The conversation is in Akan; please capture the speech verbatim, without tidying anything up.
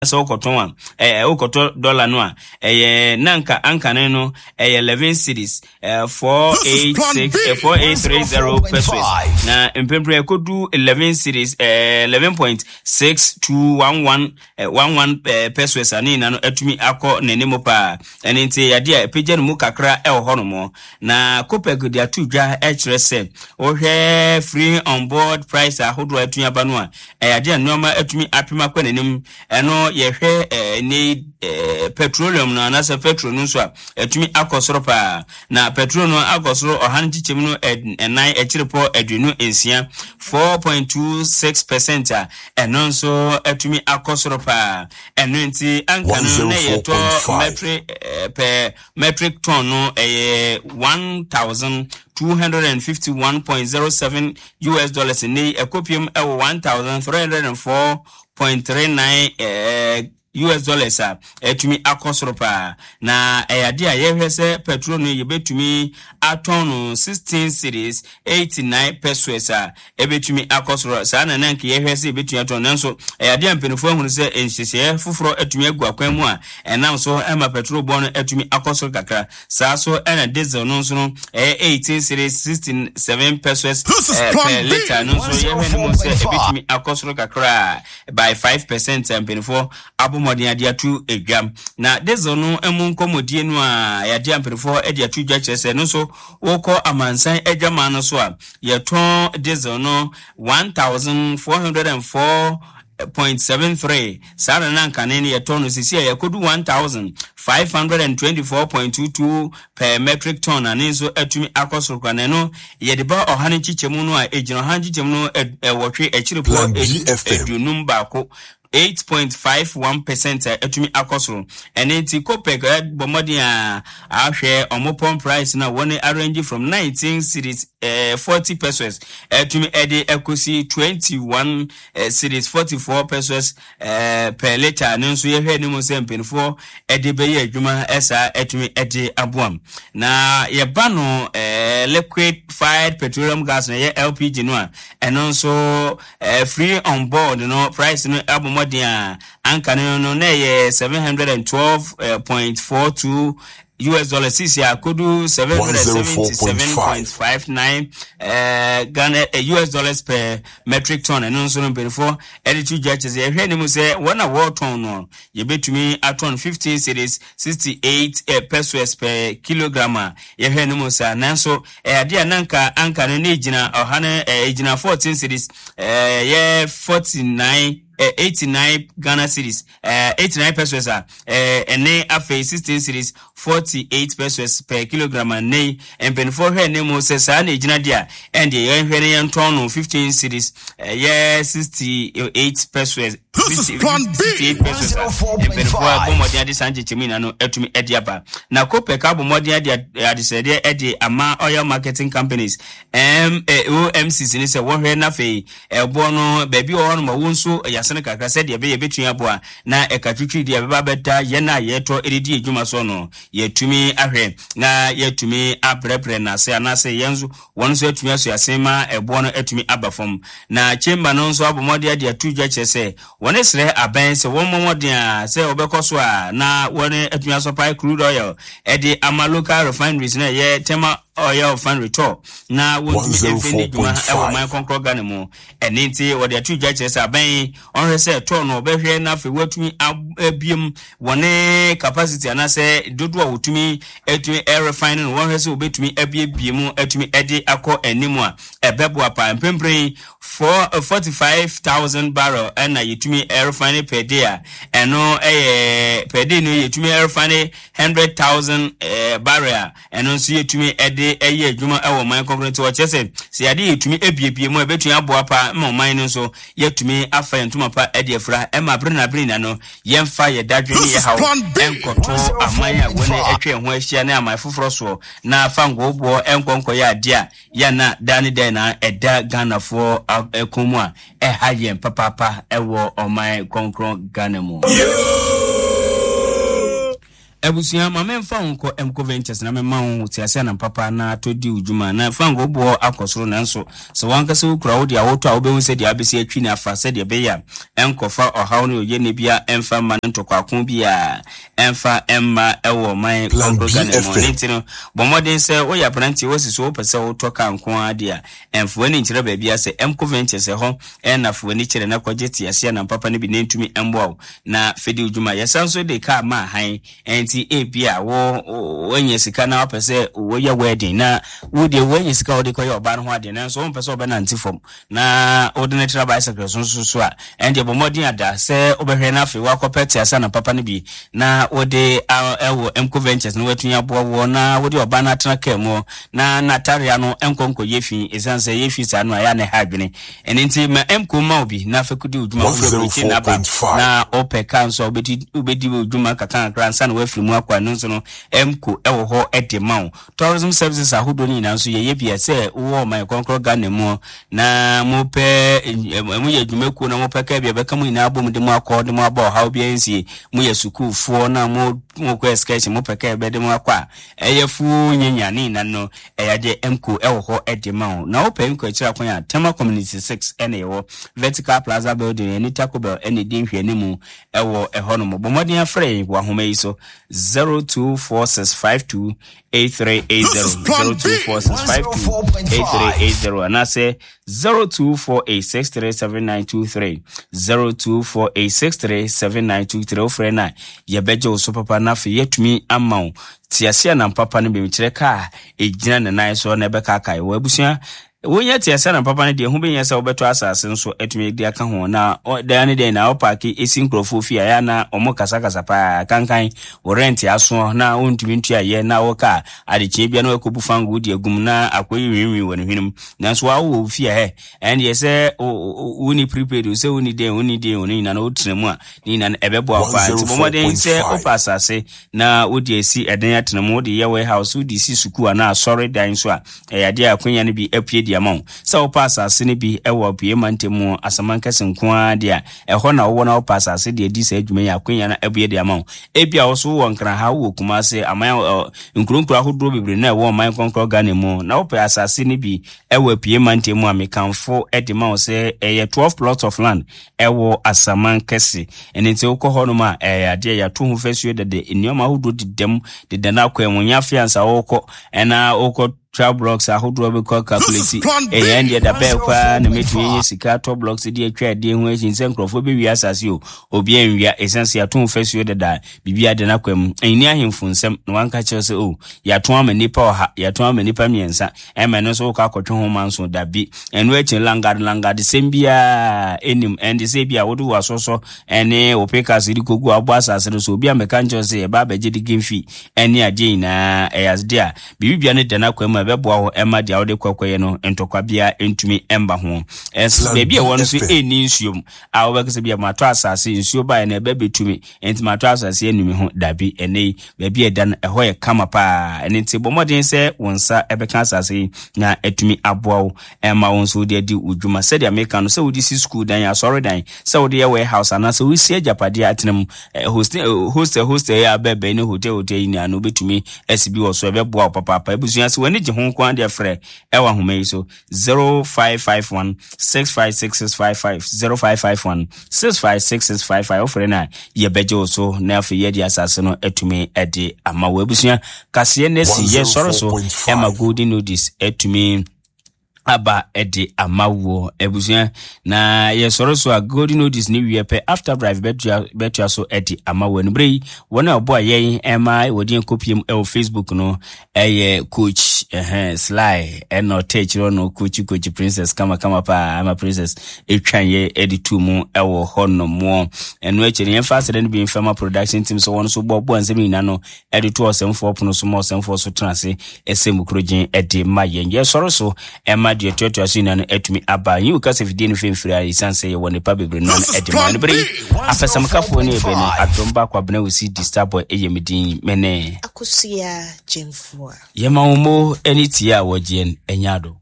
Sɛ wokɔtɔn a, ɛɛ wokɔtɔ dɔla no a, ɛyɛ nanka ankane no ɛyɛ eleven cedis ɛɛ four eight six four eight three zero pesos, na mprempren ɛkɔdu eleven cedis ɛɛ eleven point six two one one one one pesos a, ne nyinaa no atumi akɔ n'anim paa. Ɛne nti yadeɛ a ɛpagya no mu kakra ɛwɔ hɔnom. Na COPEC de ato dwa ɛkyerɛ sɛ wohwɛ free on board price ahodoɔ a atumi aba no a, ɛyɛ adeɛ a nneɛma atumi apem akɔ n'anim. Ɛno yɛhwɛ ɛɛ ne ɛɛ petroleum no anaasɛ petrol no nso a, atumi akɔ soro paa. Na petrol no akɔ soro ɔha no nkyekyɛm no ɛnan akyirepɔ aduonu nsia, four point two six percent a, ɛno nso atumi akɔ soro paa. Ɛno nti anka no na yɛtɔ metric ɛɛ per metric ton no ɛyɛ one thousand two hundred and fifty one point zero seven U S dollars, ne ɛkɔpiem ɛwɔ one thousand three hundred and four point three nine ɛɛ U S dollars a, ɛtumi akɔ soro paa. Na ɛyɛ adeɛ a yɛhwɛ sɛ petrol no yɛbɛtumi atɔn no sixteen cedis eighty nine pesos a, ɛbɛtumi akɔ soro saa. Na nanka yɛhwɛ sɛ yɛbɛtumi atɔn, nanso ɛyɛ adeɛ a mpanimfoɔ ahunu sɛ nhyehyɛeɛ foforɔ atumi agu akwan mu a ɛnam so ɛma petrol bɔ no atumi akɔ soro kakra saa. So ɛna diesel no nso no ɛyɛ eighteen cedis sixty seven pesos ɛɛ per litre no nso, yɛhwɛ no mu sɛ ɛbɛtumi akɔ soro kakra by five percent a mpanimfoɔ abɔ mmɔden ade ato edwam. Na diesel no mu nkɔmmɔdie no a yɛade a mpanimfoɔ de ato dwa kyerɛ sɛ no nso wokɔ amansan adwaman no so a, yɛtɔn diesel no one thousand four hundred and four point seven three saa. Na na nkane no yɛtɔn no sisi a yɛkɔdu one thousand five hundred and twenty-four point two two per metric ton, na ne nso atumi akɔ soro kora. Na ɛno yɛde ba ɔha no nkyekyɛmu no a, ɛgyina ɔha nkyekyɛmu no ɛwɔtwe akyirepɔ aduonum baako, eight point five one percent a atumi akɔ soro. Ɛne nti COPEC bɔ mmɔden a ahwɛ ɔmo pump price na wɔn arrange from nineteen cedis ɛɛ forty pesos ɛtumi ɛde ɛkɔsi twenty one cedis forty four pesos ɛɛ per litre. Ne nso yɛhwɛ anim sɛ mpanimfoɔ ɛde bɛyɛ adwuma ɛsaa ɛtumi ɛde aboam. Na yɛba no ɛɛ liquefied petroleum gas na ɛyɛ L P G no a, ɛno nso ɛɛ free on board no price no abɔ mmɔden a anka no no na ɛyɛ seven hundred and twelve point four two U S dollars, sisi akodu seven hundred seventy seven point five nine Ghana U S dollars per metric ton. Ɛno nso no mpanyinfoɔ ɛde to dwa kyerɛ sɛ yɛhwɛ anim sɛ wɔn a wɔretɔn no yɛbɛtumi atɔn fifteen cedis sixty eight pesos per kilogram a yɛhwɛ anim saa. Nanso ɛyɛ adeɛ a nanka anka no ne gyina ɔha no ɛɛ gyina fourteen cedis ɛɛ yɛ forty nine eighty nine Ghana cedis eighty nine pesos a, ɛne afei sixteen cedis forty eight pesos per kilogram a, ne mpanimfoɔ hwɛ ne mu sɛ saa na egyina deɛ a, ɛndeɛ yɛnhwɛ ne yɛntɔn no fifteen cedis ɛyɛ sixty eight pesos, sixty eight pesos a, mpanimfoɔ abɔ mmɔden ade saa nkyekyɛmu nyinaa no atumi ɛde aba. Na COPEC abɔ mmɔden ade adesrɛdeɛ ɛde ama oil marketing companies, O M Cs ne sɛ wɔhwɛ n'afei ɛboɔ no baabi wɔ hɔ nom a wɔn nso yɛasene kakra sɛdeɛ ɛbɛyɛ ɛbɛtumi aboa na ɛka twitwi deɛ ɛbɛba bɛda yɛn a yɛtɔ ɛredi adwuma so no, yɛtumi ahwɛ na yɛtumi abrɛbrɛ n'ase anaasɛ yɛn nso wɔn nso atumi aso ase ma ɛboɔ no atumi aba fam. Na chamber no nso abɔ mmɔden ade ato dwa kyerɛ sɛ wɔn srɛ abɛn sɛ wɔn mmɔ mmɔden a sɛ wɔbɛkɔ so a na wɔn atumi asupply crude oil ɛde ama local refineries na ɛyɛ Tema Oil Refinery tɔ na wɔntumi mfe ne dwuma ɛwɔ man kɔnkɔn Ghana mu. Ɛne nti wɔde ato dwa kyerɛ sɛ abɛn ɔhwɛ sɛ tɔɔ no ɔbɛhwɛ na afei wɔatumi abiem wɔne capacity anaasɛ dodoɔ a wɔtumi atumi ɛrefine no, wɔhwɛ sɛ wɔbɛtumi abiebie mu atumi ɛde akɔ anim a ɛbɛboa paa. Mprempren four forty five thousand barrel ɛna yɛtumi ɛrefine per day a, ɛno ɛyɛ per day no yɛtumi ɛrefine hundred thousand ɛɛ barrel a, ɛno nso yɛtumi ɛde ɛyɛ adwuma ɛwɔ ɔman kɔnkɔn. Nti wɔkyerɛ sɛ sɛ yɛade yɛtumi abiebie mu a, ɛbɛtumi aboa paa ma ɔman no nso yɛtumi afa yɛn ntoma pa ɛde afura ɛma abere na abere nyina no yɛmfa yɛ dadwe ne yɛ haw ɛnkɔto aman a wɔne atwa yɛn ho ahyia ne aman foforɔ soɔ na fa ngɔɔboɔ ɛnkɔ nkɔyɛ adeɛ a yɛna daa ne dan na ɛda Ghanafoɔ ɛkɔn mu a ɛha yɛn papaapa ɛwɔ ɔman kɔnkɔn Ghana mu. Abusua, ma memfa wo nkɔ Emco Ventures na mema wo tease anam papa na atɔ di wo dwuma. Na frango boɔ akɔ soro, nanso sɛ wankasa wokura wo deɛ a wotɔ a, wobɛhu sɛdeɛ abɛsi atwi ne afa, sɛdeɛ ɛbɛyɛ a ɛnkɔfa ɔhaw ne ɔyɛ ne bia ɛmfa mma no ntɔkwako bi a ɛmfa ɛmma ɛwɔ ɔman Plan kɔnkɔn Ghana mu. B F M. Ne nti no, bɔ mmɔden sɛ woyɛ aberanteɛ woasi so wopɛ sɛ wotɔ kaa nko ara deɛ a, ɛmfa w'ani nkyerɛ baabi a sɛ Emco Ventures ɛhɔ ɛna fa w'ani kyerɛ na kɔgye tease anam papa no bi na ntumi ɛmboa wo na fɛdi wo dwuma. Yɛsan so de kaa ma han, ɛnti ebi a wo woanya sika na wopɛ sɛ woyɛ wedding na wo deɛ woanya sika a wode kɔyɛ ɔbaa no ho adeɛ, nanso wompɛ sɛ wobɛnante fam na wode no tra bicycle so nso so a, ɛndeɛ bɔ mmɔden ada sɛ wobɛhwɛ no afei woakɔpɛ tease anam papa no bi na wode a- ɛwɔ Emco Ventures na woatumi aboa woɔ na wode ɔbaa no atena kaa mu na n'atareɛ no nkɔ nkɔyɛ fi, ɛsiane sɛ yɛ fi saa no a ɛyɛ a na ɛha adwene. Ɛno nti ma Emco ma wo bi na afei kɔdi wo dwuma wofiri aburokyi na aba one oh four point five. Na wopɛ kaa nso a wobɛdi wobɛdi wo dwuma kakra kakra ansa na woafiri mu akɔ. Ɛno nso no, Emco ɛwɔ hɔ ɛde ma wo. Tourism services ahodoɔ no nyinaa nso yɛyɛ bi a sɛ wowɔ ɔman kɔnkrɔ Ghana mu na mopɛ moyɛ adwumakuo na mopɛ kaa bi a bɛka mo nyinaa bɔ mu de mo akɔ de mo aba, ɔhaw biara nsie. Moyɛ sukuufoɔ na mo mokɔ excursion, mopɛ kaa bɛde mo akɔ a ɛyɛ fuo nyanya ne nyinaa no, ɛyɛ adeɛ Emco ɛwɔ hɔ ɛde ma wo. Na wopɛ Emco akyiri akwan a, Tema Community six ɛna ɛwɔ Vertical Plaza building ɛne Taco Bell ɛne di nhwɛne mu ɛwɔ ɛhɔ nom. Bɔ mmɔden afrɛ yɛn wɔ ahoma yi so: zero two four six five two eight three eight zero, This is Plan B. zero two four six five two eight three eight zero anaasɛ zero two four eight six three seven nine two three, zero two four eight six three seven nine two three. Wofrɛ no a, yɛbɛgye wo so papa na afei yɛatumi ama wo tease anam papa no bi, kyerɛ kaa ɛgyina ne nan so na ɛbɛkaakae wɔ abusua. Wonyɛ tease anam papa no deɛ, ho bɛnya sɛ wobɛtɔ asase nso atumi de aka ho na ɔ- daa ne deɛ na wopark ɛsi nkurɔfoɔ fie a, ɛyɛ a na ɔmo kasakasa paa kankan wo rent asoɔ na wontumi ntua yɛ na woka adekyee bia na wakɔbu fango wode agum na akɔyi nwinwin wɔ ne hwenem. Nanso wawowɔ wo fie a hɛ, ɛndeɛ sɛ wo- wo- wonni prepaid o, sɛ wonni den wonni den o, ne nyina no wotena mu a, ne nyina no ɛbɛboa wo paa. Nti bɔ mmɔden sɛ one oh four point five. wopɛ asase na wode asi ɛdan atena mu, wode yɛ warehouse, wode si sukuu anaa asɔre dan so a, ɛyɛ adeɛ a akwanya no bi apue di ama wo. Sɛ wopɛ asase no bi ɛwɔ apue mantam mu Asamankɛse nko ara deɛ a, ɛhɔ na wowɔ na wopɛ asase deɛ di saa adwuma yi, akwanya no abue de ama wo. Ebi a wo so wowɔ Nkranha, wowɔ Kumase, aman ɔ, nkuronkuro ahodoɔ bebree na ɛwɔ ɔman kɔnkɔn Ghana mu na wopɛ asase no bi ɛwɔ apue mantam mu a, mekamfo de ma wo sɛ ɛyɛ twelve plots of land ɛwɔ Asaman Kɛse. Ɛno nti wokɔ hɔnom a, ɛyɛ adeɛ yɛato ho fasuo dede, nneɛma ahodoɔ dedam deda no akwan mu, nyɛ afei ansa wokɔ ɛna wokɔ twa blocks ahodoɔ bɛkɔ calculate. Plan B. Ɛyɛ ɛndeɛ da bɛɛ paa na mɛtumi anya sika atɔ blocks de atwa adeɛ ho akyi sɛ nkurɔfoɔ bɛwia asase o, obiaa nwia, ɛsiane sɛ yɛato ho fasuo deda, biribi ade no akwan mu. Ɛnni ahemfo nsɛm na wanka kyerɛ sɛ o, yɛato ama nnipa ɔha, yɛato ama nnipa mmiɛnsa, ɛma ɛno nso wokɔ akɔtwe ho ma nso dabi. Ɛno akyi landguard landguard sɛm biaa ɛnim. Ɛnde sɛ bi a wode wo asɔsɔ ɛne wo pickaxe de kɔgu abɔ asase no so, obi a mɛka nkyerɛ sɛ yɛba abɛgye de game fee ɛne adeɛ nyinaa, ɛyɛ adeɛ a biribibia no da no akwan mu a ɛbɛboa wo ɛma deɛ wode kɔkɔyɛ no ntɔkwa biara ntumi ɛmba ho. Ɛs Plan baabi a ɛwɔ no nso B F M. ɛnni nsuom a wobɛka sɛ bia matɔ asase, nsuo baeɛ no ɛbɛ bɛtumi nti matɔ asase anumi ho dabi. Ɛnɛ yi baabi a ɛda no ɛhɔ yɛ kama paa. Ɛno nti bɔ mmɔden sɛ wo nsa ɛbɛka asase yi na atumi aboa wo ɛma wo nso wode adi wo dwuma sɛdeɛ meka no, sɛ wode si school dan, asɔre dan, sɛ wode yɛ warehouse anaasɛ wosi agyapadeɛ atena mu, eh, hostel eh, hostel hostel yɛ abɛɛbɛn ne hotel hotel yi nyinaa no, wobɛtumi asi bi wɔ so, ɛbɛboa wo papaapa. Abusua, sɛ w'ani gye ho nko ara deɛ, frɛ ɛwɔ ahoma yi so: zero five five one six five six six five five, zero five five one six five six six five five. Wofrɛ no a, yɛbɛgye wo so na afei yɛde asase no atumi de ama wo. Abusua, kaseɛ no asi yɛsɔre so ɛma one oh four point five. Golden Notice atumi aba de ama woɔ. Abusua, na yɛsɔre so a, Golden Notice ne wie pɛ, After Drive bɛtua bɛtua so de ama wo. Anumere yi, wɔn a ɔbɔ a yɛn ɛma wɔde yɛn kɔpiem ɛwɔ Facebook no ɛyɛ Coach ɛhɛn Sly, ɛna ɔtɛ akyire no coach coach Princess kamakama paa ama Princess etwa yɛ ɛde tu mu ɛwɔ hɔ nomoɔ. Ɛno akyi no, yɛmfa asɛdɛ no bi mfɛma production team so wɔn nso bɔ bɔ nsɛm nyinaa no ɛde to ɔsɛmfoɔ pono so ma ɔsɛmfoɔ so tena ase ɛsɛ mu kurogyen ɛde ma yɛn. Yɛsɔre so ɛma deɛ toatoa so nyinaa no atumi aba yi wo kasa fidie no fɛmfiri a, ɛsiane sɛ yɛwɔ nipa bebree no ɛde ma no bere yi. Afɛsɛmkafoɔ ne yɛbɛ no adom baako abena wo si di Starboy ɛyɛ me din mene Akosua Gyemfoa. Yɛma wo mo ne tie a wɔgyeɛ no ɛnya do.